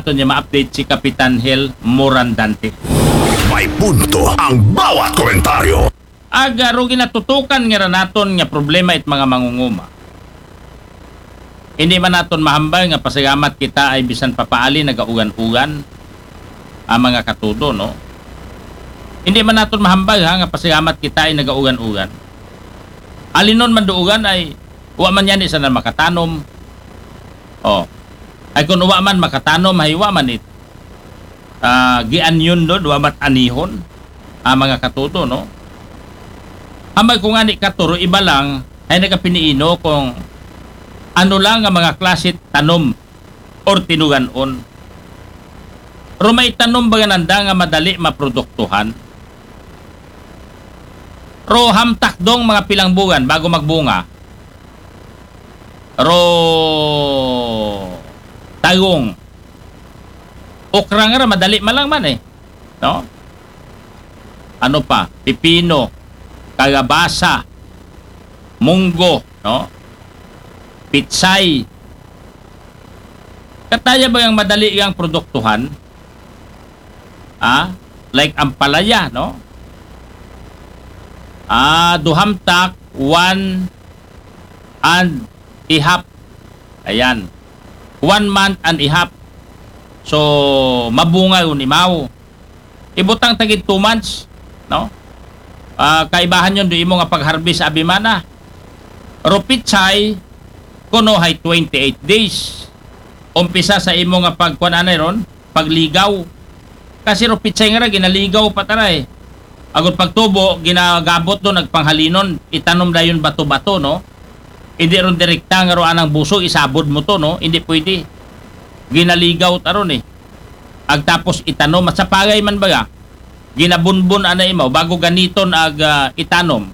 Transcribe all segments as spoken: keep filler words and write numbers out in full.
aton niya ma-update si Kapitan Hel Morandante. May punto ang bawat komentaryo. Ag, ah, ro ginatutukan nga ra naton nga problema it mga mangunguma. Hindi man naton mahambal nga pasalamat kita ay bisan papaali nagaugan-ugan ang mga katudo, no? Hindi man naton mahambal, ha, nga pasalamat kita ay nagaugan-ugan. Alinon man duugan ay wa man yan isa na makatanom. Oh. Ay kung wa man makatanom, ay wa man it, ah, gianyon doon, wa man anihon, ang mga katudo, no? Ambay ko nga ni katuro, iba lang, ay nagapiniino kung ano lang ang mga klase tanom or tinuganon. Ro may tanom ba nga nanda nga madali maproduktuhan? Ro hamtak dong mga pilang buwan bago magbunga? Ro tagong. Okra nga ra, madali man lang man eh. No? Ano pa? Pipino, kalabasa, munggo, no? Pitsay. Kataya ba ang madali ang produktuhan? Ah, like ampalaya, no? Ah, duhamtak, one and a half. Ayan. One month and a half. So, mabunga yun, imaw. Ibutang tagid two months, no? Ah, kaibahan yun, do imo nga pag-harvest, abi mana. Ro pitsay, kuno hay twenty-eight days. Umpisa sa imo nga pagkuan anay ron, pagligaw. Kasi ro pitsay nga ra, ginaligaw pa tara eh. Agon pagtubo, ginagabot doon, nagpanghalinon, itanom dayon bato-bato, no? Hindi ron direkta nga ro anang busog, isabod mo to, no? Hindi pwede. Ginaligaw taron eh. Ag tapos itanom, at sa pagay man baga, ginabunbon ana imaw, bago ganiton ag, ah, itanom.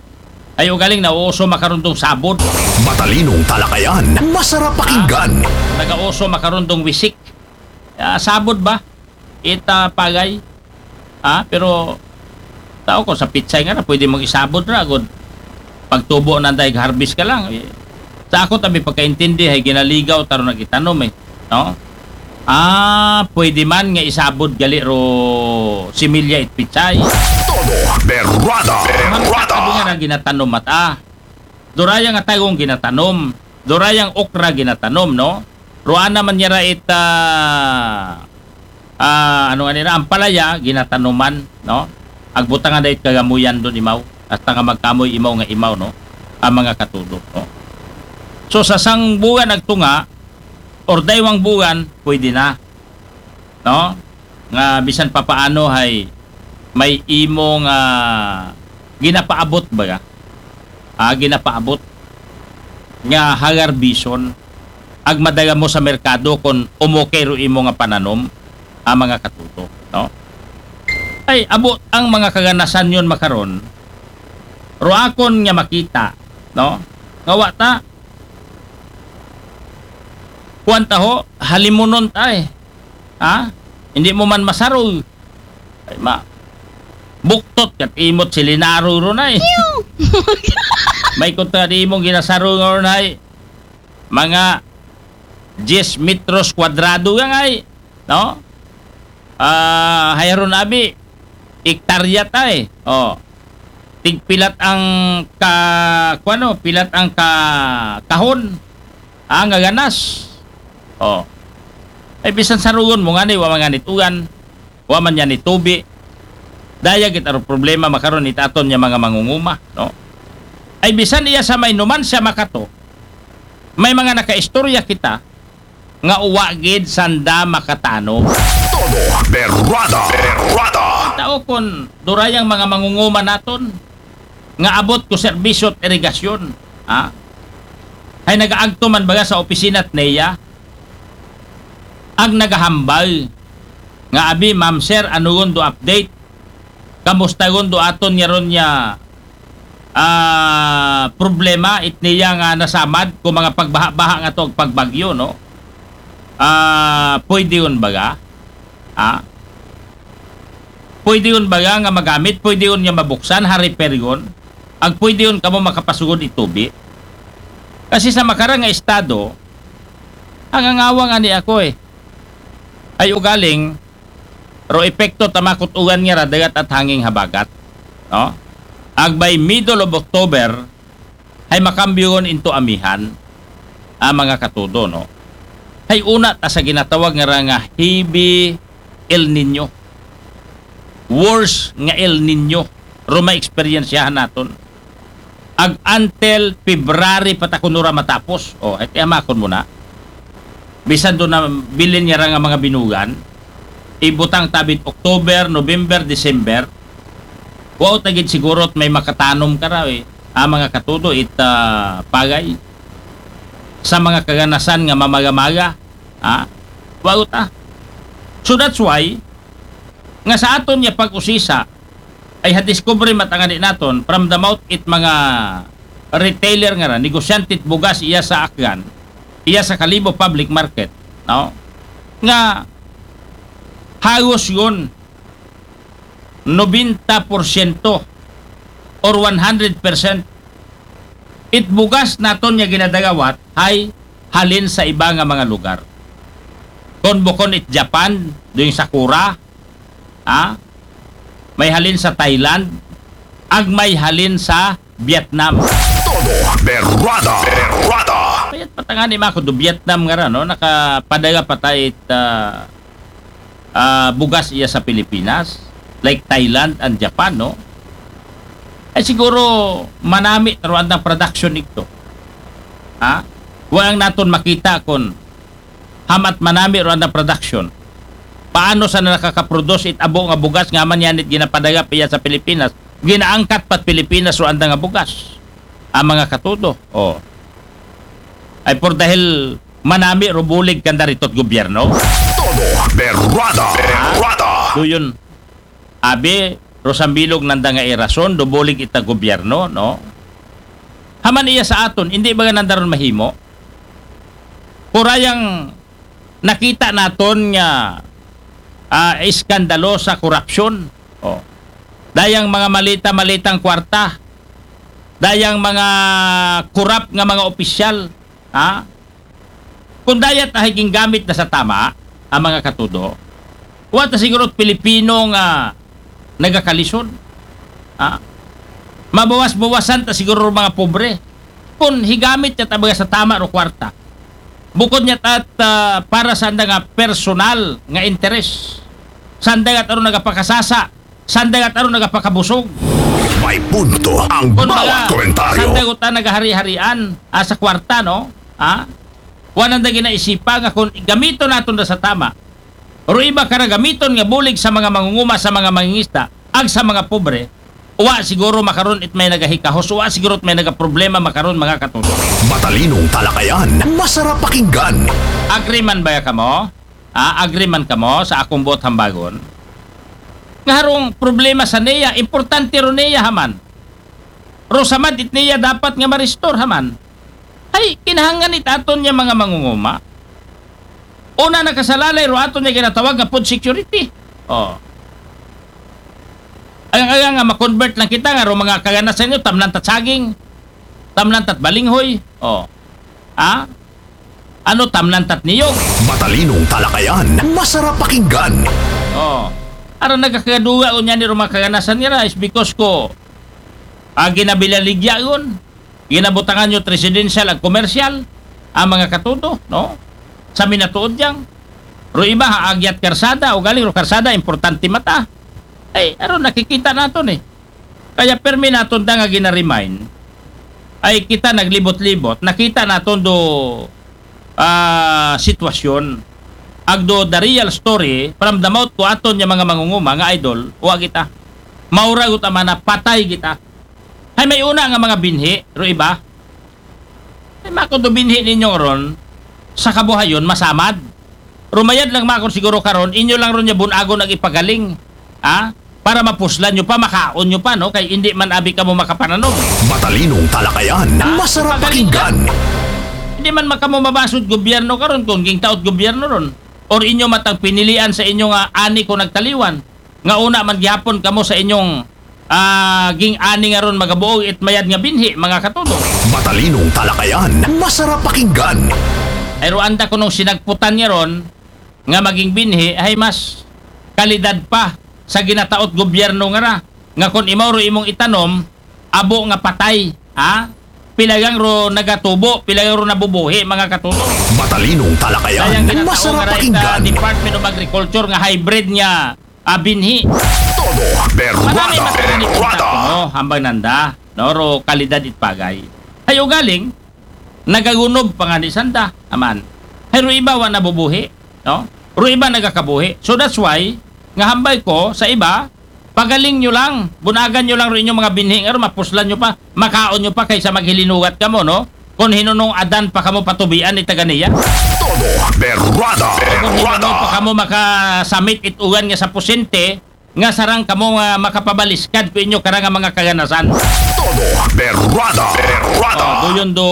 Ay ugaling na uso makarundong sabod. Matalinong talakayan, masarap pakinggan. Nagauso makarundong wisik. Ah, sabod ba? Ita pagay. Ah, pero tao ko sa pitsay nga na, pwede mong isabod ra, agod pagtubo na dahil harvest ka lang. Eh, sa ako tabi pagkaintindi, ay ginaligaw, taro nagitanom eh. No? Ah, pwede man nga isabod gali ro similya it pitsay. Todo berrada. Berrada. Sabi nga na ginatanom mata. Duraya nga tagong ginatanom. Durayang okra ginatanom, no? Ruana man niya ra it, ah, ah, ano nga nila, ampalaya, ginatanuman, no? Agbutangan da it kagamuyan doon imaw. Hasta nga magkamoy imaw nga imaw, no? Ang mga katudo, no? So, sa sang buwan agtunga, or daywang buwan, pwede na. No? Nga bisan papaano hay may imo nga ginapaabot baga. Ah, ginapaabot nga hagarbison ag madala mo sa merkado kung umokay ro imo nga pananom, ang mga katuto, no? Ay, abot ang mga kaganasan yon makaron, ro akon nga makita, no? Nga wa ta, kuwan ta ho, halimunon ta eh. Ha? Hindi mo man masarog. Ay, ma. Buktot kat imot si Linaro ron ay. May kontra di imong ginasarog ron ay. Mga diyes metros kwadrado yang ay. No? Ah, hayron abi. Ektarya ta eh. Oh. Tigpilat ang ka, kuwano, pilat ang ka, kahon. Ah, nga ganas. Oh. Ay, bisan sarugon mo nga ni, wa man nga nitugan, wa man niya nitubi. Daya gid aro problema makaron it aton niya mga mangunguma, no? Ay, bisan iya sa may numan siya makato, may mga nakaistorya kita nga uwa gid sanda makatano. Todo berrada. Berrada. Tao kon durayang mga mangunguma naton, nga abot ko serbisyo at irigasyon, ha? Ay nagaagto man baga sa opisina at neya, ag nagahambal nga, "Abi, ma'am, sir, ano gon do update? Kamusta gon do aton nga ron nga, ah, problema it niya nga nasamad ko mga pagbaha-baha nga to ag pagbagyo, no?" Ah, pwede yun baga? Ha? Pwede yun baga nga magamit? Pwede yun nga mabuksan? Hari pergon? Ag pwede yun kamo makapasugod itubi? Kasi sa makarang nga estado, ang angawang ani ako eh. Ay ugaling, ro epekto ta makut-ugan nga ra dagat at hanging habagat, no? Ag by middle of October, hay makambyo ngon into amihan, a mga katudo, no? Hay una ta sa ginatawag nga ra nga heavy El Niño. Worse nga El Niño. Ro ma-experiencehan naton. Ag until February pa ta kuno ra matapos. O, hay tiyamakon mo na. Bisan do na bilin nga ra nga mga binugan, ibutang tabit October, November, December, wa ta gid siguro may makatanom ka ra, eh. A mga katudo, it, ah, pagay sa mga kaganasan nga mamaga-maga, ha? Wa ta. So that's why, nga sa aton nga pag-usisa, ay ha-discovery matangani naton, from the mouth it mga retailer nga ra, negosyante it bugas iya sa Aklan, iya sa Kalibo Public Market, no? Nga, hagos yun, nobenta porsyento or one hundred percent it bugas naton nga ginadagawat hay halin sa iba nga mga lugar. Kon bukon it Japan, doon sa Kura, ha? May halin sa Thailand, ag may halin sa Vietnam. Todo berrada. Berrada. Kaya't patangani mako do Vietnam nga ra, no? Nakapadaga pa ta it, ah, ah, bugas iya sa Pilipinas, like Thailand and Japan, no? Ay siguro manami ta ro andang production igto. Ha? Wa ang naton makita kon hamat manami ro andang production. Paano sa nakakaproduce it abo nga bugas nga man yan it ginapadaga pa iya sa Pilipinas? Ginaangkat pat Pilipinas ro andang nga bugas. Ang mga katudo. O. Ay por dahil manami ro bulig kanda ritot gobyerno? Todo berrada. Berrada. Do yun, abi, ro sambilog nanda nga irason, do bulig ita gobyerno, no? Haman iya sa aton, indi baga nanda ron mahimo? Kurayang nakita naton nga, ah, iskandalo sa korupsyon. O. Dayang mga malita-malitang kwarta. Dayang mga korap nga mga opisyal. Ha? Kung dayat ahay ginggamit na sa tama, ang mga katudo, wa ta siguro Pilipino nga nagakalisod. Ha? Mabawas-bawasan ta siguro mga pobre. Kung higamit niya ta baga sa tama ro kwarta. Bukod niya tat, ah, para sa anda nga personal nga interes. Sa anda nga taro nagapakasasa, sa anda nga taro nagapakabusog. May punto ang Kung bawat mga komentaryo. Sa anda nga ta nagahari-harian, ah, sa kwarta, no? Ha? Wa nanda ginaisipa nga kung gamiton naton na sa tama. Ro iba ka ra gamiton nga bulig sa mga mangunguma, sa mga mangingisda, ag sa mga pobre, wa siguro makaron it may nagahikahos, wa siguro it may nagaproblema makaron, mga katudo. Matalinong talakayan, masarap pakinggan. Agree man ba kamo? Ah, agree man kamo sa akong buot hambagon? Nga harong problema sa niya, importante ro niya haman. Ro samad it niya dapat nga ma-restore haman. Ay, kinahanglan it aton niya mga mangunguma. Una nakasalalay ro aton niya ginatawag nga food security. O. Ang, ang, nga ma-convert lang kita nga ro mga kaganasan nyo, tamnan tat saging, tamnan tat balinghoy. O. Ha? Ano, tamnan tat niyog? Matalinong talakayan, masarap pakinggan. O. Aron nagakagaduga ko niya ni ro mga kaganasan nira is because ko, ah, ginabilaligya yun. Ginabutangan nyo residential ag commercial, ang mga katudo, no? Sa minatuod yang. Ro iba, ha, agyat karsada, o galing ro karsada, importante mata. Ay, aron nakikita naton eh. Kaya permi naton da nga gina-remind, ay kita naglibot-libot, nakita naton do, ah, sitwasyon. Ag do the real story, from the mouth ko aton niya mga mangunguma nga idol, wa kita. Maura guta mana, patay kita. Hay may una nga mga binhi, ro iba. Ay, mako do binhi ninyo ron, sa kabuhayon, masamad. Rumayad lang mako siguro karon, inyo lang ron niya bunagon ag ipagaling. Ha? Para mapuslan nyo pa, makaon nyo pa, no? Kay hindi man abi kamo makapananom. Matalinong talakayan, ha? Masarap pakinggan. Hindi man makamo mabasod gobyerno karon kung gingtaot gobyerno ron. Or inyo matang pinilian sa inyo nga ani ko nagtaliwan. Nga una man gihapon kamo sa inyong, ah, ging-ani nga ron magabuog it mayad nga binhi, mga katudo. Matalinong talakayan, masarap pakinggan. Ay, ro anda ko nung sinagputan niya ron, nga maging binhi ay mas kalidad pa sa ginataot gobyerno nga ra, nga kon imaw ro imong itanom, abo nga patay, ha? Pila gang ro nagatubo, pila gang ro nabubuhi, mga katuto. Matalinong talakayan, sayang ginataw masarap nga ra pakinggan. Department of Agriculture nga hybrid nga, ah, binhi. Todo berwada, berwada. No, hambal nanda, no, ro kalidad it pagay. Hay ugaling, nagagunob pa ngani sanda, aman. Hay ro iba wa nabubuhi, no? Ro iba nagakabuhi. So that's why, nga hambal ko sa iba, pagaling nyo lang, bunagan nyo lang ro inyong mga binhi nga ro, mapuslan nyo pa, makaon nyo pa kaysa maghilinugat kamo, no? Kon hinunong adan pa kamo patubian ni taga niya. Todo berwada, berwada. Kon hinunong pa kamo makasamit it ugan nga sa pusente, nga sarang kamo nga makapabaliskad ko inyo kara nga mga kaganasan. Todo berwada, berwada. Oh, doon do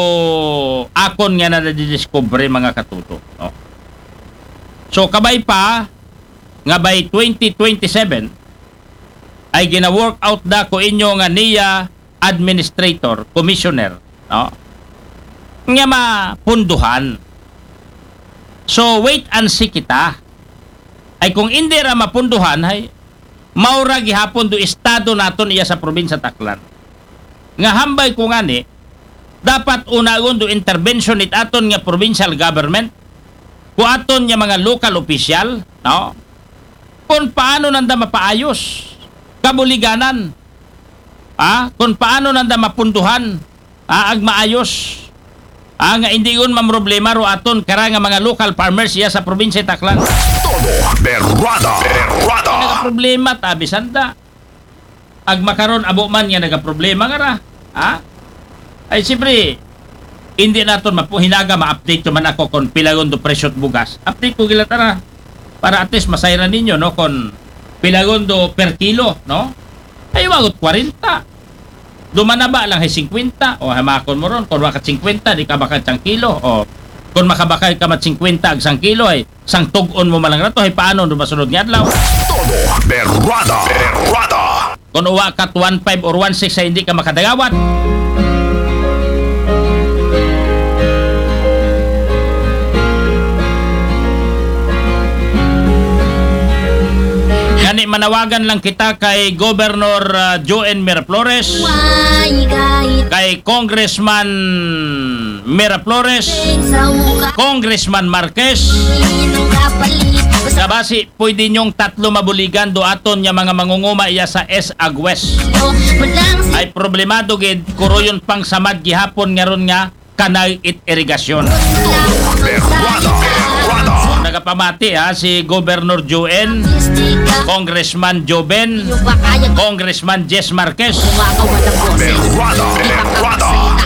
akon nga nadidiscovery, mga katuto, no? So, kabay pa, nga by twenty twenty-seven, ay gina-work out da ko inyo nga niya administrator, commissioner, no? Nga mapunduhan. So, wait and see kita. Ay kung indi ra mapunduhan, hay, maura gihapon do estado naton iya sa probinsya Aklan. Nga hambal ko ngani, dapat unagon do intervention it aton nga provincial government, ko aton nga mga local official, no? Kung paano nanda mapaayos, kabuliganan, ah, kung paano nanda mapunduhan, ah, ag maayos, ah, nga indigon mamroblema ro aton kara nga mga local farmers iya sa probinsya Aklan. Todo berwada, berwada. Nagaproblema ta, bisan da. Ag makaron abo man nga nagaproblema nga ra. Ha? Ay, siyempre, hindi naton mapu-, hinaga ma-update ko man ako kung pilagon do presyo bugas. Update ko gila tara. Para at least masayran ninyo, no? Kung pilagon do per kilo, no? Ay, wagot kwarenta. Dumanaba lang hay singkwenta. O, hamakon mo ron, kung wakat singkwenta, di ka bakal sang kilo. O, kung makabakal ka mat singkwenta ag sang kilo, ay, sang tug-on mo malang rato, hay paano do masunod nga adlaw? Todo berwada, berwada. Kung uwa ka one five or one six ay hindi ka makadagawat. Gani manawagan lang kita kay Governor, ah, Joen Miraflores, kay Congressman Miraflores, Congressman Marquez, nga basi pwede nyong tatlo mabuligan do aton nga mga mangunguma iya sa S A G West. Ay problemado gid, kuruyon pang samad gihapon nga ron nga kanal it irigasyon. Berwada, berwada. Nagapamati, ha, si Governor Joen, Congressman Joben, Congressman Jess Marquez. Berwada, berwada.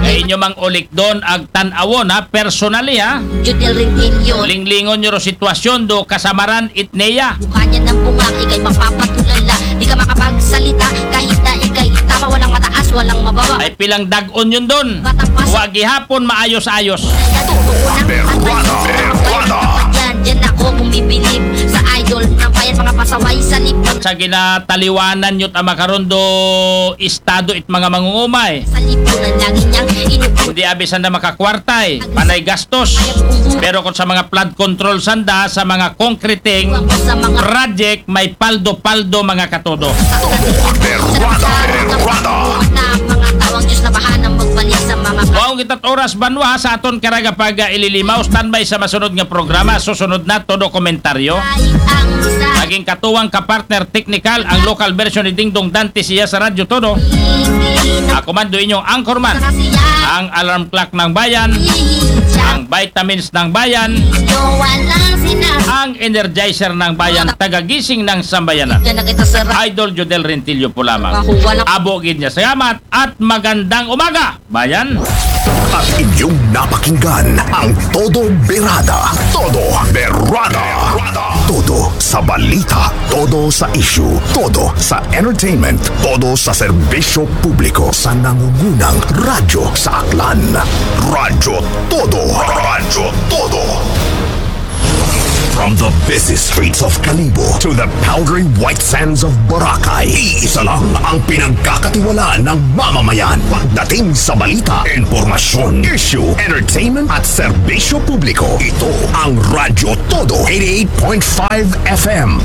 Ay inyo mang ulikdon ag tan-awon, ha, personally, ha. Linglingon nyo ro sitwasyon do kasamaran it neya. Mukha niya ng bunga, ikay mapapatulala. Di ka makapagsalita, kahit na ikay tama, walang mataas, walang mababa. Ay pilang dag-on yun dun. Wa gihapon maayos-ayos. Berwada, berwada. Diyan, diyan ako bumibilib sa idol ng bayan, mga pasaway sa libon. Sa ginataliwanan nyo tama karon do estado it mga mangungumay. Sa lipunan lagi niyang inuulit. Kundi abisan na makakwartay, panay gastos. Pero kung sa mga flood control sanda, sa mga concreting project, may paldo-paldo, mga katodo. Berwada, berwada. Mga tawang Diyos na bahala magbalik sa mga. Wow, kita't oras banwa sa aton karaga pag, ah, ililimaw. Standby sa masunod nga programa. Susunod na, todo komentaryo. Ay, ang isa. Naging katuwang ka-partner technical ang local version ni Dingdong Dante siya sa Radyo Todo. Ako man do inyong anchorman, ang alarm clock ng bayan, ang vitamins ng bayan, ang energizer ng bayan, tagagising ng sambayanan. Idol Jodel Rentillo po lamang. Abo gid niya. Salamat at magandang umaga, bayan. At inyong napakinggan ang Todo Berada. Todo Berada. Todo sa balita, todo sa issue, todo sa entertainment, todo sa serbisyo publiko sa nangungunang radyo sa Aklan. Radyo Todo. Radyo Todo. From the busy streets of Kalibo to the powdery white sands of Boracay, iisa lang ang pinagkakatiwalaan ng mamamayan. Pagdating sa balita, impormasyon, issue, entertainment at serbisyo publiko, ito ang Radyo Todo eighty-eight point five F M.